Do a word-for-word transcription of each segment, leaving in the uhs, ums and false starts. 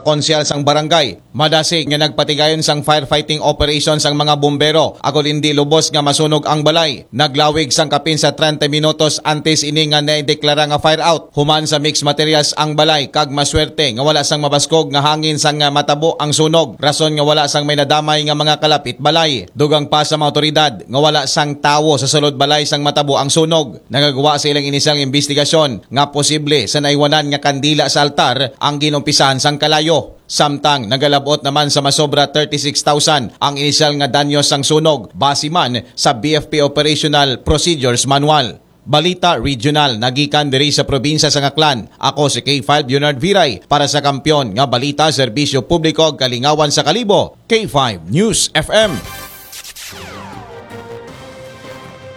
konsehal sang barangay. Madasig nga nagpatigayon sang firefighting operation sang mga bumbero, agod indi lubos nga masunog ang balay. Naglawig sang kapin sa treinta minutos antes ini nga naideklara nga fire out. Human sa mixed materials ang balay, kag maswerte nga wala sang mabaskog nga hangin sang matabo ang sunog, rason nga wala sang may nadamay nga mga kalapit balay. Dugang pa sa mga otoridad nga wala sang tawo sa sulod balay sang matabo ang sunog. Nagagwa sa ilang inisyal nga imbestigasyon nga posible sa naiwanan nga kandila sa altar ang ginumpisahan sang kalayo. Samtang nagalabot naman sa masobra thirty-six thousand ang inisyal nga danyo sang sunog, base man sa B F P Operational Procedures Manual. Balita regional nagikan diri sa probinsya sang Aklan. Ako si K five Leonard Viray para sa Kampiyon nga Balita, Serbisyo Publiko ug Kalingawan sa Kalibo, K five News F M.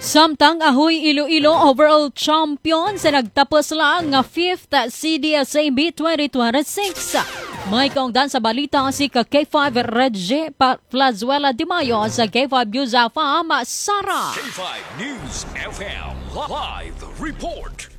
Samtang Ahoy Iloilo overall champion sa nagtapos lang nga fifth C D S A Meet twenty twenty-six. May kaungdan sa balita si ka K five Reggie Pa-, Flazuela de Mayo sa K five News F M, Sara. K five News F M live report.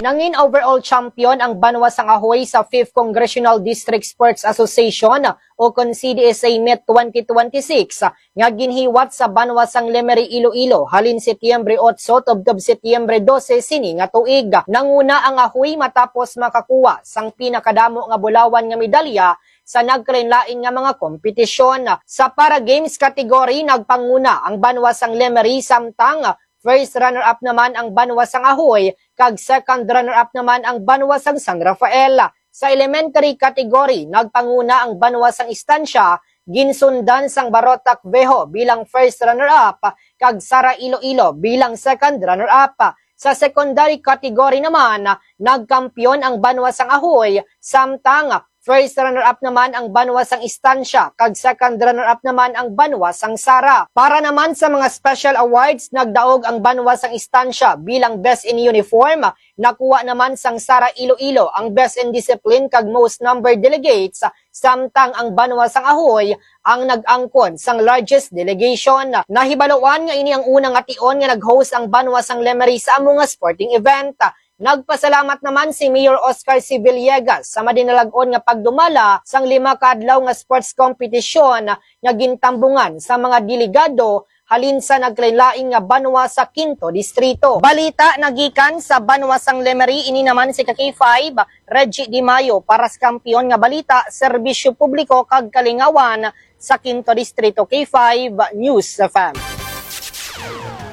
Nangin overall champion ang Banwa sang Ahoy sa fifth Congressional District Sports Association o kon C D S A Meet twenty twenty-six nga ginhiwat sa Banwa sang Lemery, Iloilo, halin Setyembre otso tubtob Setyembre dose sini nga tuig. Nanguna ang Ahoy matapos makakuha sang pinakadamo nga bulawan nga medalya sa nagkalainlain nga mga kompetisyon. Sa Para Games category, nagpanguna ang Banwa sang Lemery, samtang first runner-up naman ang Banwa sang Ahoy, kag second runner-up naman ang Banwa sang San Rafael. Sa elementary category, nagpanguna ang Banwa sang Estancia, ginsundan sang Barotac Viejo bilang first runner-up, kag Sara Iloilo bilang second runner-up. Sa secondary category naman, nagkampiyon ang Banwa sang Ahoy, samtang first runner-up naman ang Banwa sang Estancia, kag second runner-up naman ang Banwa sang Sara. Para naman sa mga special awards, nagdaog ang Banwa sang Estancia bilang Best in Uniform, nakuha naman sang Sara Iloilo ang Best in Discipline kag Most Number Delegates, samtang ang Banwa sang Ahoy ang nag-angkon sang largest delegation. Nahibaluan nga ini ang una nga tion nga nag-host ang Banwa sang Lemery sa amo nga sporting event. Nagpasalamat naman si Mayor Oscar C. Villegas sa madinalag-on nga pagdumala sang lima ka adlaw nga sports competition nga gintambungan sa mga delegado halin sa nagkalainlain nga banwa sa Quinto Distrito. Balita nagikan sa banwa sang Lemery, ini naman si ka K five, Reggie Di Mayo, para sa Kampiyon nga Balita, Serbisyo Publiko kag Kalingawan sa Quinto Distrito, K five News F M.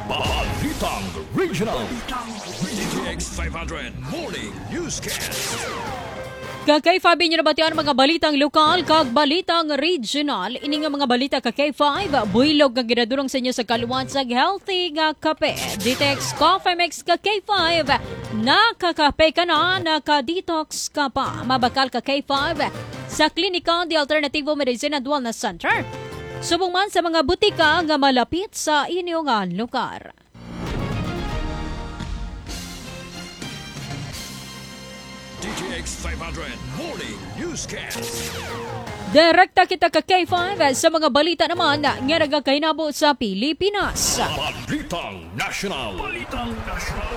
Balitang Regional. D T X five hundred Morning Newscast. Ka K five, inyo nabatian mga balitang lokal kag balitang regional. Ini nga mga balita ka K five, buylog nga ginadulong sa inyo sa kaluwat sang healthy nga kape. Detox Coffee Mix ka K five. Nakakape ka na, naka-detox ka pa. Mabakal ka K five sa Klinika de Alternativo Medicine and Wellness Center. Subong man sa mga butika nga malapit sa inyo nga lugar. D T X five hundred Morning Newscast. Direkta kita ka K five sa mga balita naman nga nagakahinabo sa Pilipinas. Balitang National. Balitang National.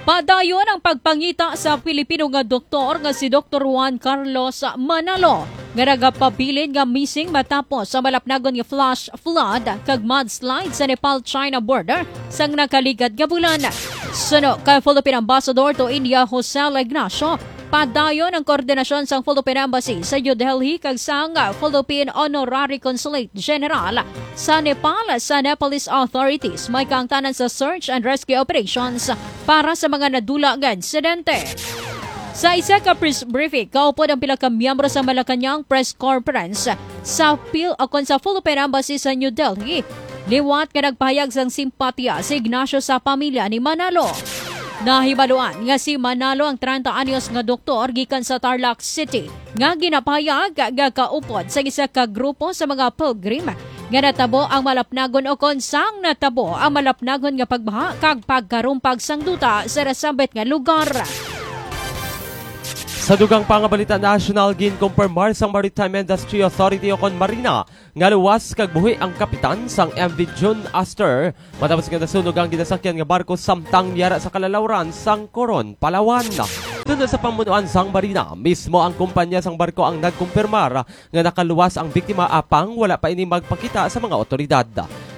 Padayon ang pagpangita sa Pilipino nga doktor nga si Doktor Juan Carlos Manalo, nga nagapabilin nga missing matapos sa malapnagon nga flash flood kag mudslide sa Nepal-China border sang nakaligad nga bulan. Suno kay Philippine Ambassador to India Jose Ignacio, padayon ang koordinasyon sang Philippine Embassy sa New Delhi kag sang Philippine Honorary Consulate General sa Nepal sa Nepalese authorities. May kaangtanan sa search and rescue operations para sa mga nadula nga insidente. Sa isa ka press briefing, kaupod ang pila ka miyembro sa Malacañang Press Conference sa Pil-, o kon sa Philippine Embassy sa New Delhi, liwat nga nagpahayag sang simpatiya si Ignacio sa pamilya ni Manalo. Nahibaluan nga si Manalo ang treinta anyos nga doktor gikan sa Tarlac City nga ginapahayag nga kaupod sa isa ka grupo sa mga pilgrim nga natabo ang malapnagon o kon sang natabo ang malapnagon nga pagbaha kag pagkarumpag sang duta sa nasambit nga lugar. Sa dugang pa nga balita nasyonal, ginkumpirmar sang Maritime Industry Authority o kon Marina nga luwas kag buhi ang kapitan sang M V June Astor matapos nga nasunog ang ginasakyan nga barko samtang yara sa kalalawran sang Coron, Palawan. Tungod sa pamunuan sang Marina, mismo ang kumpanya sang barko ang nagkumpirmar nga nakaluwas ang biktima, apang wala pa ini magpakita sa mga otoridad.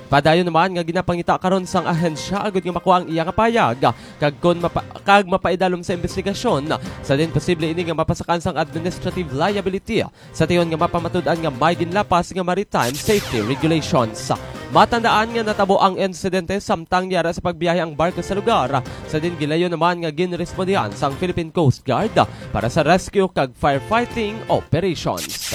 Padayon naman nga ginapangita karon sang ahensya agud nga makuha ang iya nga payag, kag kon mapa-, kag mapaidalom sa investigasyon, sa din posible ini nga mapasakan sang administrative liability sa tion nga mapamatud-an nga may ginlapas nga maritime safety regulations. Matandaan nga natabo ang insidente samtang yara sa pagbiyahe ang barko sa lugar, sa din gilayon naman nga ginrespondihan sang Philippine Coast Guard para sa rescue kag firefighting operations.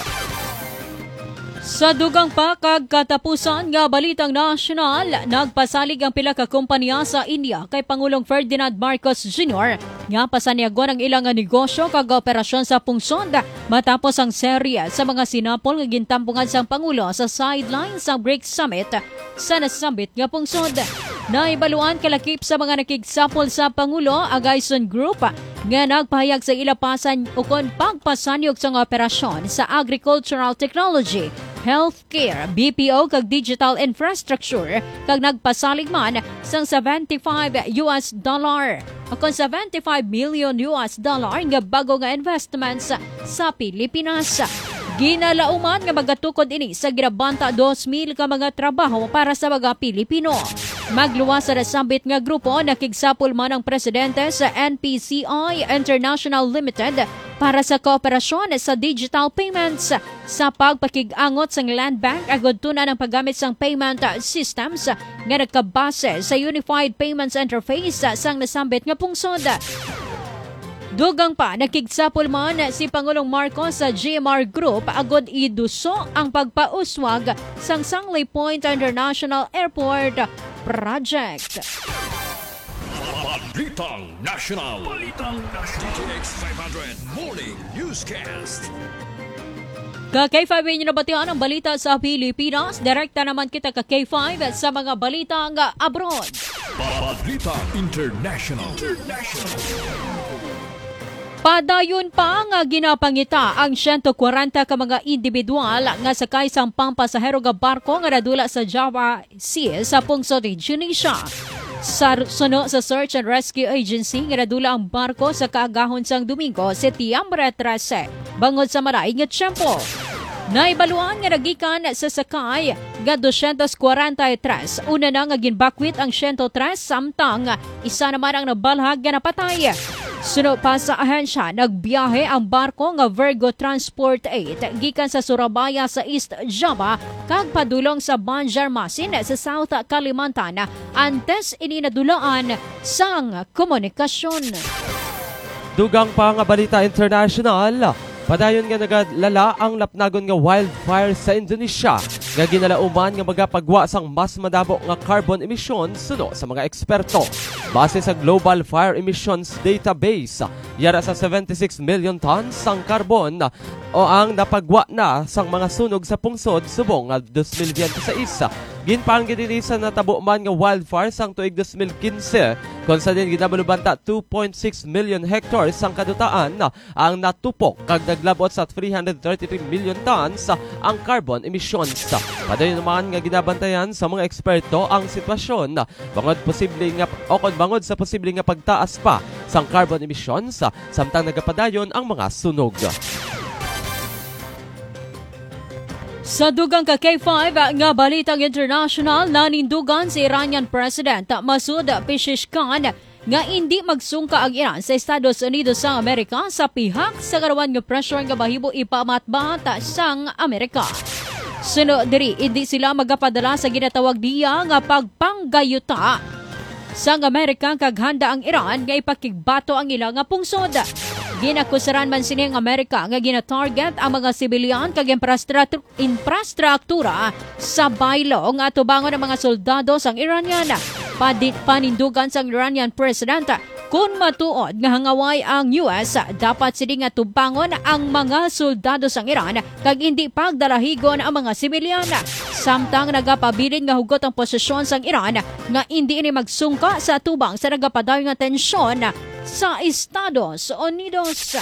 Sa dugang pa kag katapusan nga balitang nasyonal, nagpasalig ang pila ka kompanya sa India kay Pangulong Ferdinand Marcos Junior nga pasanyagon ang ilang negosyo kag operasyon sa pungsod matapos ang serye sa mga sinapol nga gintampungan sang Pangulo sa sideline sa BRICS Summit sa nasambit nga pungsod. Nahibaluan kalakip sa mga nakigsapol sa Pangulo, ang Gaison Group, nga nagpahayag sa ila pasan ukon pagpasanyog sang operasyon sa agricultural technology, healthcare, B P O kag digital infrastructure, kag nagpasalig man sang seventy-five U S dollar, ukon seventy-five million U S dollar nga bago nga investments sa Pilipinas. Ginalauman nga magatukod ini sa ginabanta dos mil ka mga trabaho para sa mga Pilipino. Magluwas sa nasambit nga grupo, nakigsapol man ang presidente sa N P C I International Limited para sa kooperasyon sa digital payments, sa pagpakig-angot sang Land Bank agud tun-an ang paggamit sang payment systems nga nagkabase sa Unified Payments Interface sang nasambit nga pungsod. Dugang pa, nakigsapol man si Pangulong Marcos sa G M R Group agud iduso ang pagpauswag sang Sangley Point International Airport Project. Balitang National. Balitang National. D T X five hundred Morning Newscast. Ka K five inyo nabatian ang balita sa Pilipinas. Direkta naman kita ka K five sa mga balita nga abroad. Balita International. International. Padayon pa nga ginapangita ang siyento kwarenta ka mga individual nga sakay sang pampasahero nga barko nga nadula sa Java Sea sa pungsod ni Indonesia. Sa suno sa Search and Rescue Agency nga nadula ang barko sa kaagahon sang Domingo, Setyembre trese, bangod sa malain nga tiyempo. Naibaluan nga nagikan sa sakay nga dosyentos kwarenta y tres, una na nga ginbakwit ang siyento tres, samtang isa naman ang nabalhag nga napatay. Suno pa sa ahensya, nagbiyahe ang barko nga Virgo Transport eight gikan sa Surabaya sa East Java kag padulong sa Banjarmasin sa South Kalimantan antes ini nadulaan sang komunikasyon. Dugang pa nga balita international, padayon nga nagalala ang lapnagon nga wildfire sa Indonesia, nga ginalauman nga magapagwa sang mas madamo nga carbon emission suno sa mga eksperto. Base sa Global Fire Emissions Database, yara sa seventy-six million tons sang carbon o ang napagwa na sang mga sunog sa pungsod subong nga dos mil biyente sais. Ginpanggid ini sa natabo man nga wildfire sang tuig dos mil kinse, kon sa din ginabalubanta two point six million hectares sang kadutaan ang natupok, kag naglabot sa three hundred thirty-three million tons ang carbon emissions. Padayon naman nga ginabantayan sa mga eksperto ang sitwasyon bangod posible nga, o kon bangod sa posible nga pagtaas pa sang carbon emissions, samtang nagapadayon ang mga sunog. Sa dugang ka K five nga balitang international, nanindugan si Iranian President Masoud Pezeshkian nga indi magsungka ang Iran sa Estados Unidos sa Amerika sa pihak sa karuan nga pressure nga mahimo ipamatbat sang Amerika. Suno diri, indi sila magapadala sa ginatawag niya nga pagpanggayuta sang Amerika, kag handa ang Iran nga ipakigbato ang ila nga pungsod. Ginakusaran man sini ang Amerika nga ginatarget ang mga sibilyan kag infrastratu-, infrastruktura sa baylo nga atubangon ang mga soldado sang Iranian. Padi-, panindugan sang Iranian President, kun matuod nga hangaway ang U S, dapat sini nga tubangon ang mga soldado sang Iran kag indi pagdalahigon ang mga sibilyan. Samtang nagapabilin nga hugot ang posisyon sang Iran nga indi ini magsungka sa atubang sa nagapadayon nga tensyon sa Estados Unidos.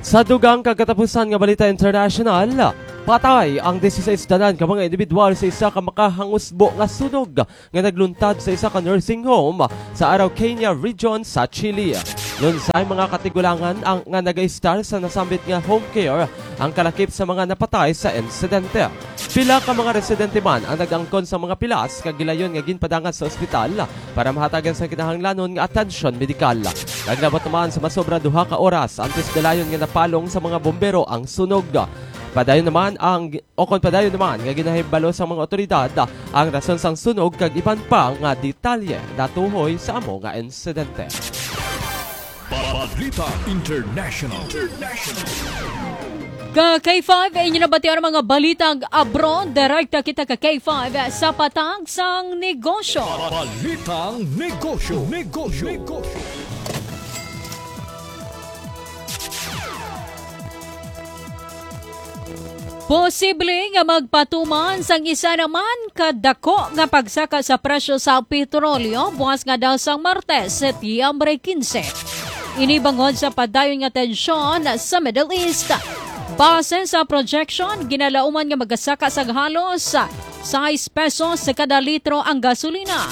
Sa dugang kag katapusan nga balita international, patay ang dieciséis danan ka mga individual sa isa ka makahangusbo nga sunog nga nagluntad sa isa ka nursing home sa Araucania Region sa Chile. Lunsay mga katigulangan ang, nga nag-istar sa nasambit nga home care ang kalakip sa mga napatay sa insidente. Pila ka mga residente man ang nag-angkon sa mga pilas kag gilayon nga ginpadangat sa ospital para mahatagan sa kinahanglanon nga atensyon medikal. Naglabot naman sa masobra duha ka oras antes dalayon nga napalong sa mga bombero ang sunog. Padayon naman ang, o kon padayon naman nga ginahibalo sa mga otoridad ang rason sang sunog kag iban pa nga detalye natuhoy sa amo nga insidente. Balita International. Ka K five, inyo nabatian ang mga balitang abroad. Direkta kita ka K five sa patag sang negosyo. Balitang negosyo. Negosyo. Negosyo. Posible nga magpatuman sang isa naman ka dako nga pagsaka sa presyo sa petrolyo buwas nga daw sang Martes, Setyembre quince. Ini bangod sa padayon nga tensyon sa Middle East. Base sa projection, ginalauman nga magasaka sang halos sais pesos sa kada litro ang gasolina.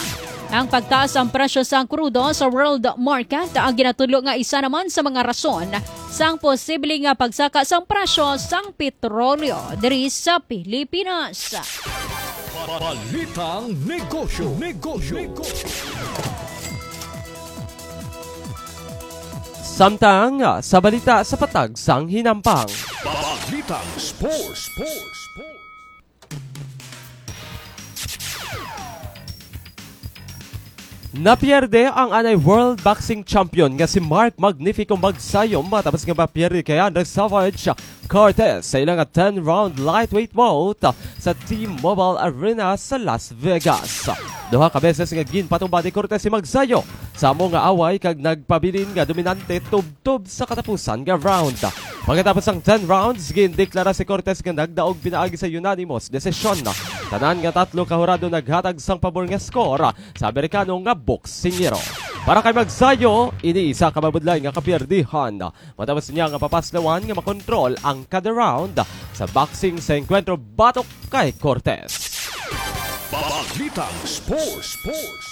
Ang pagtaas sang presyo sang krudo sa world market ang ginatudlo nga isa naman sa mga rason sang posible nga pagsaka sang presyo sang petrolyo diri sa Pilipinas. Balitang negosyo. Negosyo. Samtang sa balita sa patag sang hinampang. Balitang sports. Sports. Napierde ang anay world boxing champion nga si Mark Magnifico Magsayo matapos nga mapierde kay Andres Savage Cortez sa ila nga ten-round lightweight bout sa T-Mobile Arena sa Las Vegas. Duha ka beses nga ginpatumba ni Cortez si Magsayo sa amo nga away kag nagpabilin nga dominante tubtob sa katapusan nga round. Pagkatapos sang ten rounds, gindeklara si Cortez nga nagdaog pinaagi sa unanimous decision. Tanan nga tatlo ka hurado naghatag sang pabor nga score sa Amerikano nga boksingero. Para kay Magsayo, ini isa ka mabudlay nga kapiyerdihan. Matapos niya nga papaslawan nga makontrol ang kada round sa boxing sa engkwentro batok kay Cortez. Balitang Sports. Sports.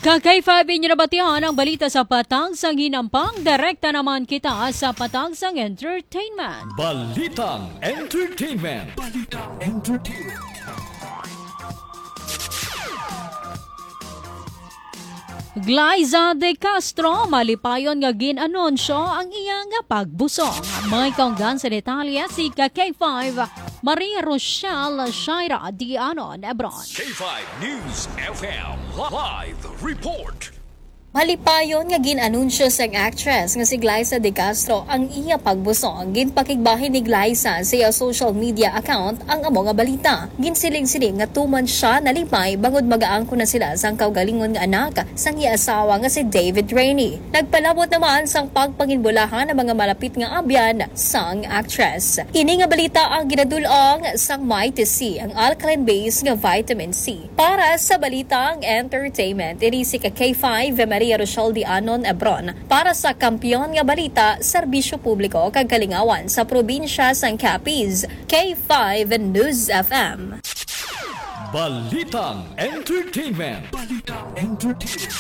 Ka K five, inyo nabatian ang balita sa patag sang hinampang. Direkta naman kita sa patag sang entertainment. Balitang Entertainment. Balitang Entertainment. Glyza De Castro, malipayon nga gin-anunsyo ang iya nga pagbusong. May kaunggan sa detalye si ka K five, Maria Rochelle Shaira Dianon Ebron. K five News F M live report. Malipayon nga gin-anunsyo sang actress nga si Glyza De Castro ang iya pagbusong. Ginpakigbahin ni Glyza sa iya social media account ang amo nga balita. Ginsiling-siling nga tuman sia nalimay bangod magaangkon na sila sang kaugalingon nga anak sang iya asawa nga si David Rainey. Nagpalabot naman sang pagpanginbulahan ang mga malapit nga abyan sang actress. Ini nga balita ang ginadul-ong sang Mighty C, ang alkaline base nga vitamin C. Para sa balitang entertainment, ini si ka K five Maria Rochelle Dianon Ebron. Para sa Kampiyon nga Balita, Serbisyo Publiko kag Kalingawan sa Probinsya sang Capiz, K five News F M. Balitang Entertainment. Balitang Entertainment.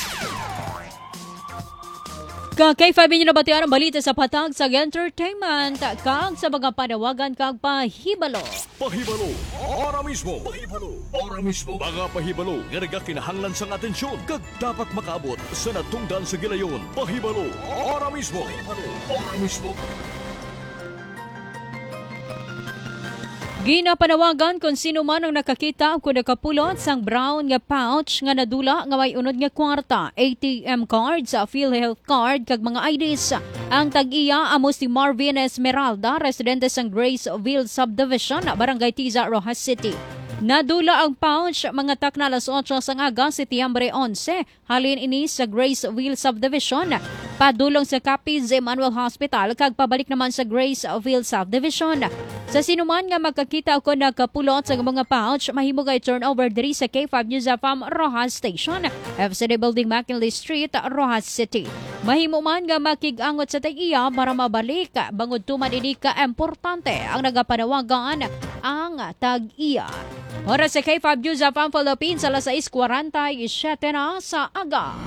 Ka K five, inyo nabatian ang balita sa patag sa entertainment kag sa mga panawagan kag pahibalo. Pahibalo, ora mismo. Pahibalo, ora mismo. Mga pahibalo nga nagakinahanglan sang atensyon kag dapat makaabot sa natungdan sa gilayon. Pahibalo, ora mismo. Pahibalo, ora mismo. Ginapanawagan kon sino man ang nakakita o kon nakapulot sang brown nga pouch nga nadula nga may unod nga kwarta, A T M cards, PhilHealth card, kag mga I Ds. Ang tag-iya amo si Marvin Esmeralda, residente sang Graceville Subdivision, Barangay Tiza, Roxas City. Nadula ang pouch mga takna alas otso sang aga, Setyembre onse, halin ini sa Graceville Subdivision, padulong sa Capiz Emmanuel Hospital, kag pabalik naman sa Graceville Subdivision. Sa sinuman nga makakita o kon nakapulot sa mga pouch, mahimo kay turnover diri sa K five News F M Roxas Station, F C D Building, McKinley Street, Roxas City. Mahimo man nga makig-angot sa tag-iya para mabalik, bangod tuman ini ka importante ang nagapanawagan ang tag-iya. Oras sa K five News F M Philippines, alas sais kwarenta y siete na sa aga.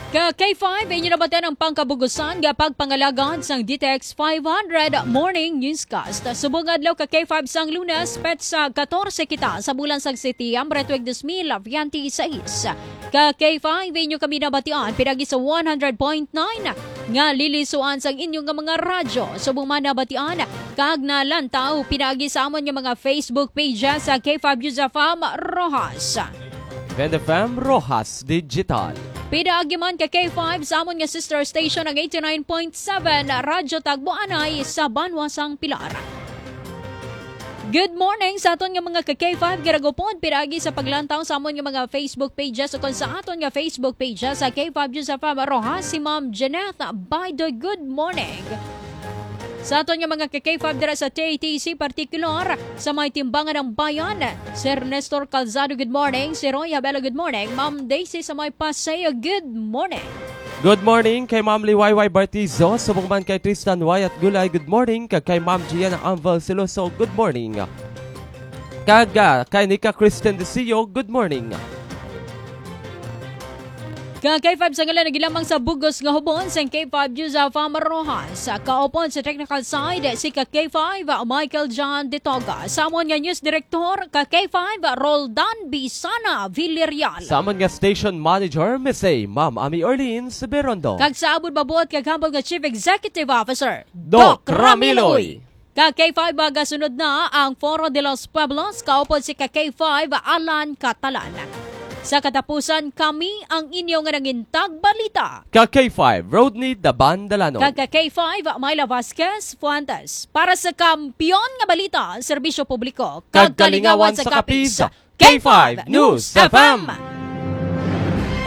Ka K five, inyo nabatian ang pangkabugusan nga pagpangalagad sang D T X five hundred Morning Newscast. Subong adlaw ka K five sang Lunes, petsa katorse kita sa bulan sang Setyembre tuig dos mil veintiseis. Ka K five, inyo kami nabatian pinagi sa one hundred point nine nga lilisuan sang inyo nga mga radyo. Subong man nabatian kag nalantaw pinagi sa amon nga mga Facebook pages sa K five News F M Roxas. Band F M Roxas Digital. Pinaagi man ka K five sa amon nga sister station ang eighty-nine point seven Radyo Tagboanay sa Banwa sang Pilar. Good morning sa aton nga mga ka K five, gira gupod pinaagi sa paglantaw sa amon nga mga Facebook pages, ukon sa aton nga Facebook pages sa K five News F M Roxas, si Ma'am Janeth Baido. Good morning. Sa aton nga mga ka K five dira sa T T C, partikular sa may Timbangan ng Bayan, Sir Nestor Calzado, good morning. Si Roy Abelo, good morning. Ma'am Daisy sa may Paseo, good morning. Good morning kay Ma'am Liwayway Bartizo, subong man kay Tristan Wyatt Gulay, good morning, kag kay Ma'am Gianna Anval Siloso, good morning. Kag, ah, kay Nika Kristen Desio, good morning. Ka K five sa ngalan, nagilamang sa bugos nga hubon sang K five News F M Roxas. Kaupod sa technical side, si ka K five, Michael John Ditoga. Sa amon nga news director, ka K five, Roldan Bisana Villarreal. Sa amon nga station manager, Miss A, Ma'am Ami Orleans Berondo. Kag sa amon mabuot kag humble nga Chief Executive Officer, Doc Doc Ramiloy. Ramiloy. Ka K five, magasunod na ang Foro de los Pueblos, kaupod si ka K five, Alan Catalan. Sa katapusan, kami ang inyo nga nangintag balita. Ka K five, Rodney Daban Dalanon. Kag ka K five, Myla Vasquez Fuentes. Para sa Kampiyon nga Balita, Serbisyo Publiko, Kag kag Kalingawan Kalingawan sa sa Kapis, Kapis, K five News F M.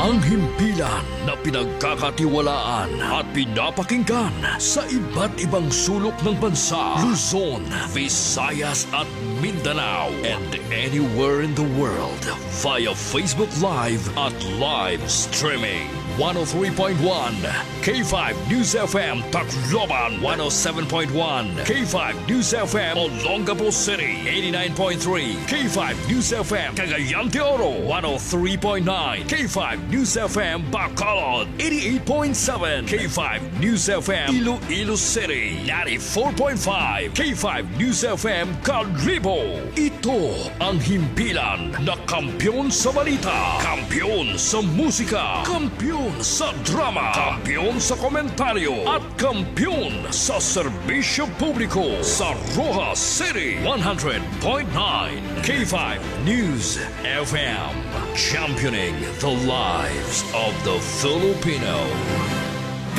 Ang himpilan na pinagkakatiwalaan at pinapakinggan sa iba't ibang sulok ng bansa, Luzon, Visayas at Mindanao, and anywhere in the world via Facebook Live at live streaming. One oh three point one K five News F M Tacloban, one oh seven point one K five News F M Olongapo City, eighty-nine point three K five News F M Cagayan de Oro, one oh three point nine K five News F M Bacolod, eighty-eight point seven K five News F M Iloilo City, ninety-four point five K five News F M Kalibo. Ito ang himpilan na kampiyon sa balita, kampiyon sa musika, kampiyon sa drama, kampiyon sa komentaryo, at kampiyon sa serbisyo publiko sa Roxas City, one hundred point nine K five News F M. Championing the lives of the Filipino.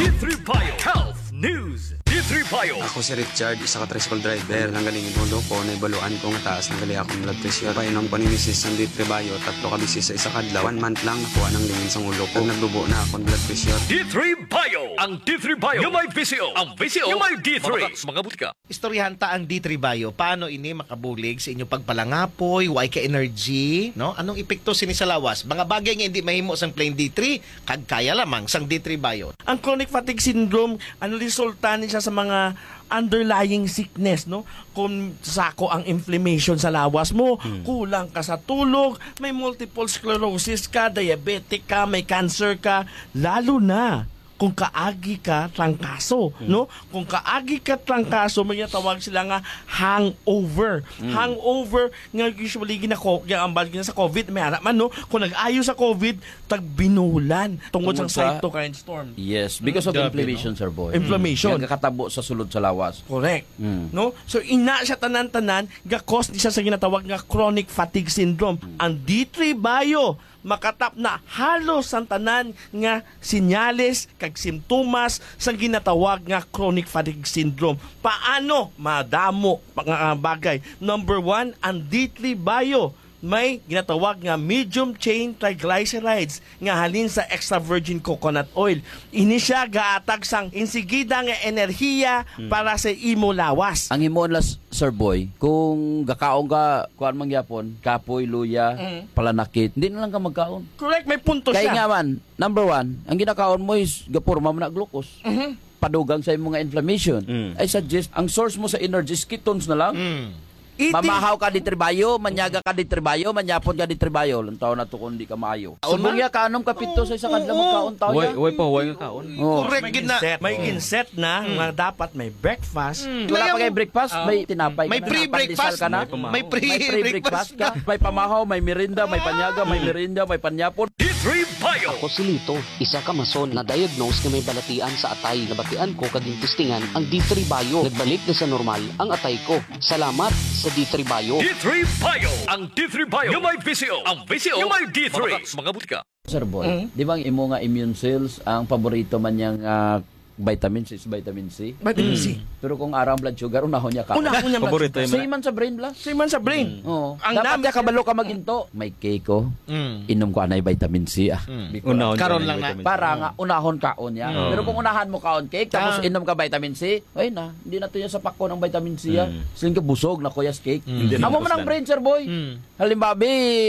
D three Bio Health News. D three Bio. Ako si Richard, isa ka tricycle driver. Nanggaling yung ulo ko, naibaluan ko nga taas na gali akong blood pressure. Painom ko ni misis sang D three Bio, tatlo ka beses sa isa ka adlaw. One month lang, nakuha nang lingin sang ulo ko. Nagdubo na akong blood pressure. D three Bio. Ang D three Bio nga may visyo. Ang visyo nga may D three. Mabakal sa mga butika. Istoryahan ta ang D three Bio. Paano ini makabulig sa inyong pagpalangapoy, way ka energy, no? Anong epekto sini sa lawas? Mga bagay nga hindi mahimo sang plain D three, kag kaya lamang sang D three Bio. Ang chronic fatigue syndrome, ano, resulta ni siya sa mga underlying sickness, no? Kung sako ang inflammation sa lawas mo, Hmm. kulang ka sa tulog, may multiple sclerosis ka, diabetic ka, may cancer ka, lalo na kung kaagi ka trangkaso, Hmm. no? Kung kaagi ka trangkaso, may ginatawag sila nga hangover. Hmm. Hangover nga usually ginako-, ginambal gina sa COVID, may ara man, no? Kung nag-ayo sa COVID, tagbinulan tungod Tungod sa sa cytokine storm. Yes, because of Grabe, inflammation, no? Sir Boy. Inflammation. Nga kakatabo sa sulod sa lawas. Correct. Mm. No? So, ina siya tanan-tanan, ga-cause ni siya sa ginatawag nga chronic fatigue syndrome. Mm. Ang D three Bio, makatap na halos ang tanan nga sinyales kag simptomas sang ginatawag nga chronic fatigue syndrome. Paano? Madamo nga bagay. Number one, ang D three Bio may ginatawag nga medium chain triglycerides nga halin sa extra virgin coconut oil. Ini siya gaatag sang insigida nga enerhiya Hmm. para sa imo lawas. Ang himuon lang, Sir Boy, kung gakaon ka, kuan man gyapon, kapoy, luya, Mm. palanakit, hindi na lang ka magkaon. Correct, may punto Kay siya. nga man, number one, ang ginakaon mo is gapurma man na glucose. Mhm. Padugang sa imo nga inflammation. Mm. I suggest, ang source mo sa energy is ketones na lang. Mm. Eating Mamahaw ka di tribayo, manyaga ka di tribayo, manyapon ka di tribayo. Lantaw na to kung di ka maayo. Taon Subong na? Ya ka, anom ka pito sa isa ka adlaw Oo. magkaon taw Way, ya. way pa, way nga kaon. Oh. Correct May gid na. Inset. May Mm. inset na Mm. nga dapat may breakfast. Mm. Wala Kaya pa kay mo- breakfast, Ah. may tinapay May ka na, free pandesal breakfast. ka na. May pamahaw. May free May free breakfast. breakfast ka. May pamahaw, may merienda, may panyaga, may Mm. merienda, may panyapon. D three Bio. Ako si Lito, isa ka mason na diagnose nga may balatian sa atay. Nabatian ko kag gintistingan ang D three Bio. Nagbalik na sa normal ang atay ko. Salamat sa D three Bio. D three Bio. Ang D three Bio nga may V C O. Ang V C O nga may D three. Mga, mga butika. Sir Boy, Mm. di ba ang imo nga immune cells ang paborito man niyang, ah, vitamin C, vitamin C? Vitamin C. Mm. Pero kung arang blood sugar, unahon niya ka. Unahon niya blood Paborito sugar. yung Same man sa brain, bla. Same man sa brain. Mm. Oo. Ang Dapat nam- niya kabalo ka maginto. May cake ko. Mm. Inom ko anay vitamin C, ah. Mm. Biko. Unahon Karon ka lang na. vitamin C. Para Oo. nga, unahon kaon niya. Mm. Pero kung unahan mo kaon cake, tapos Ah. inom ka vitamin C, ay na, hindi na to niya sa pakon ang vitamin C, ah. Mm. Siling ka busog na kuyas cake. Mm. Hindi na Amo man ang busog. brain, Sir Boy. Mm. Halimbawa,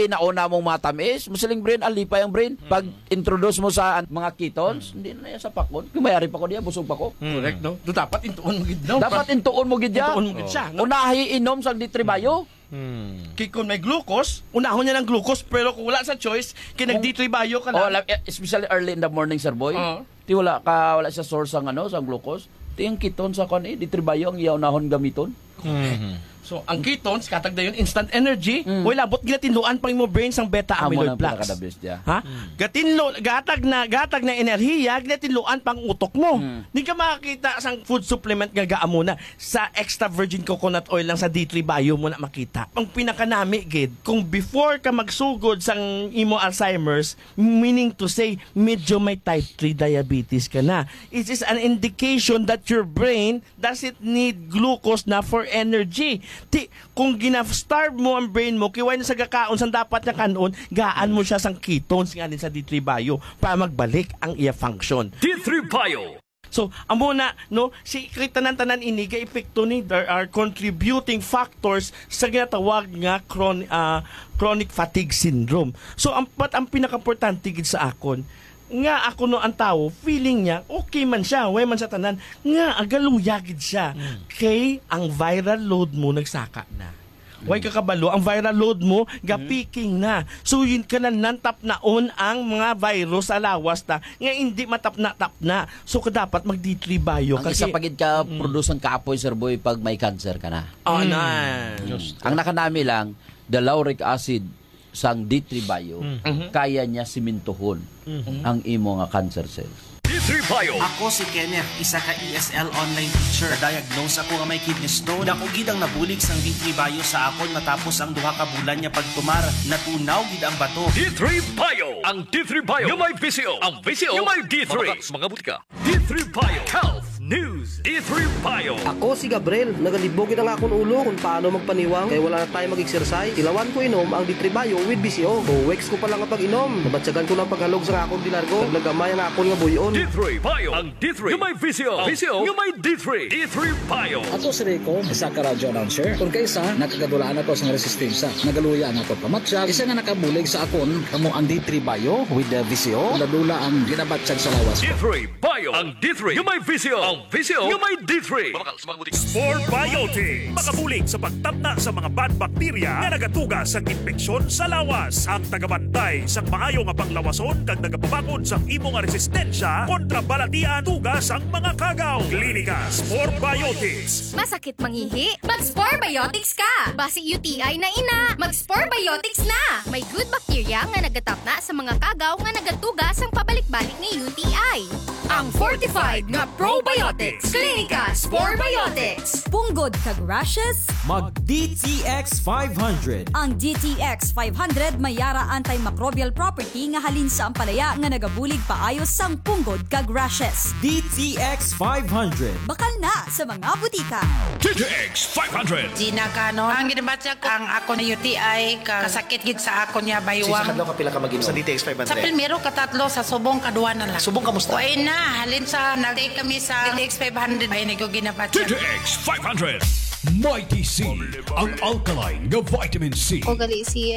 nauna mong matamis, masiling brain, alipay ang brain. Pag Mm. introduce mo sa an-, mga ketones, Mm. hindi na yan sa pakon. Kung mayari pa ko diya, busog pa ko. Mm. Correct, no? Do dapat intuon mo gid, no? Dapat intuon mo gid ya. Intuon mo gid siya, no? Unahi inom sa D three Bio. Mm. Kay kung may glucose, unahon niya ng glucose, pero kung wala sa choice, kay nag Kung D three Bio ka Oh, lang. la-, especially early in the morning, Sir Boy. Oo. Ti wala ka, wala siya source ang ano, sa glucose. Ti ang ketone sa kwan eh, D three Bio ang iya unahon gamiton. Mhm. So, ang ketones, katag dayon, instant energy, Mm. way labot ginatinluan pang imo brain sang beta Amo amyloid nang plaques. pinaka-the best, yeah. Ha? Mm. Gatinlo, gatag na, gatag na enerhiya, ginatinluan pang utok mo. Mm. Di ka makakita sang food supplement nga gaamo na. Sa extra virgin coconut oil lang sa D three Bio mo na makita. Ang pinakanami gid, kung before ka magsugod sang imo Alzheimer's, meaning to say, medyo may type three diabetes ka na. It is an indication that your brain doesn't need glucose na for energy. Ti, kung gina-starve mo ang brain mo, kiway na sa gakaon sang dapat nga kanon, gaan mo siya sang ketones nga sa D three Bio para magbalik ang iya function. D three Bio. So, amo na, no, si, kay tanan-tanan ini ga epekto ni, there are contributing factors sa ginatawag nga chron-, ah, chronic fatigue syndrome. So, ang, but ang pinakaimportante gid sa akon, nga ako no ang tawo, feeling niya, okay man siya, way man sa tanan, nga agaluya gid siya. Mm. Kay ang viral load mo nagsaka na. Way ka kabalo, ang viral load mo, ga-peaking na. So, yun ka na nantapnaon ang mga virus sa lawas ta, nga hindi matapna-tapna. So, ka dapat mag D three Bio Ang ka isa kay pa gid ka Mm. produce ang kapoy, Sir Boy, pag may cancer ka na. Ah, Mm. na. Ang nakanami lang, the lauric acid sang D three Bio, Mm. Mhm. kaya niya simintuhon Mm. ang imo nga cancer cells. D three Bio. Ako si Kenneth, isa ka E S L online teacher. Diagnose ako nga may kidney stone. Dako gid ang nabulig sang D three Bio sa akon matapos ang duha ka bulan nga pagtumar. Natunaw gid ang bato. D three Bio. Ang D three Bio nga may V C O. Ang V C O nga may D three. Mga, mga butika. D three Bio Health News. D three Bio. Ako si Gabriel. Nagalibog gid ang akon ulo kung paano magpaniwang kay wala na tayo mag-exercise. Tilawan ko inom ang D three Bio with V C O. Two weeks ko pa lang nga pag-inom. Nabatyagan ko ng paghalog sa akon di largo. Naglagamay ang akon nga buyon. D three Bio. Ang D three nga may V C O. V C O nga may D three. D three Bio. Ako si Rico, isa ka radio announcer. Kung kaisa, nakagadulaan ako sa resistensya. Nagaluya ang akon pamatyag. Isa nga nakabulig sa akon, kamo ang D three Bio with the V C O. Dula-dula ang ginabatyag sa lawas ko. D three Bio. Ang D three nga may V C O. Ang V C O nga may D three. Spore Biotics. Makabulig sa pagtapna sa mga bad bacteria nga nagatuga sa infeksyon sa lawas. Ang tagabantay sang maayo nga panglawason kag nagapabakod sang imo nga resistensya kontra balatian tuga sang mga kagaw. Klinika Spore Biotics. Masakit mangihi? Mag-Spore Biotics ka! Basi U T I na ina! Mag-Spore Biotics na! May good bacteria nga nagatapna sa mga kagaw nga nagatuga sang pabalik-balik nga U T I. Ang fortified nga probiotics. Klinika Spore Biotics. Punggod kag rashes? Mag D T X five hundred. Ang D T X five hundred may yara antimicrobial property nga halin sa ampalaya nga nagabulig paayo sang punggod kag rashes. D T X five hundred. Bakal na sa mga butika. D T X five hundred. Gina Cano, ang ginabatya ko, ang ako na U T I, ka-, kasakit gid sa ako niya, Sa baywang. Isa ka adlaw, kapila ka mag-inom? Sa D T X five hundred? Sa primero, katatlo, sa subong, kadwa na lang. Subong, kamusta? Way na, halin sa nag-take kami sa D T X five hundred, ay, nag-, ginabatya. D T X five hundred. Mighty C, ang alkaline nga vitamin C. O gali si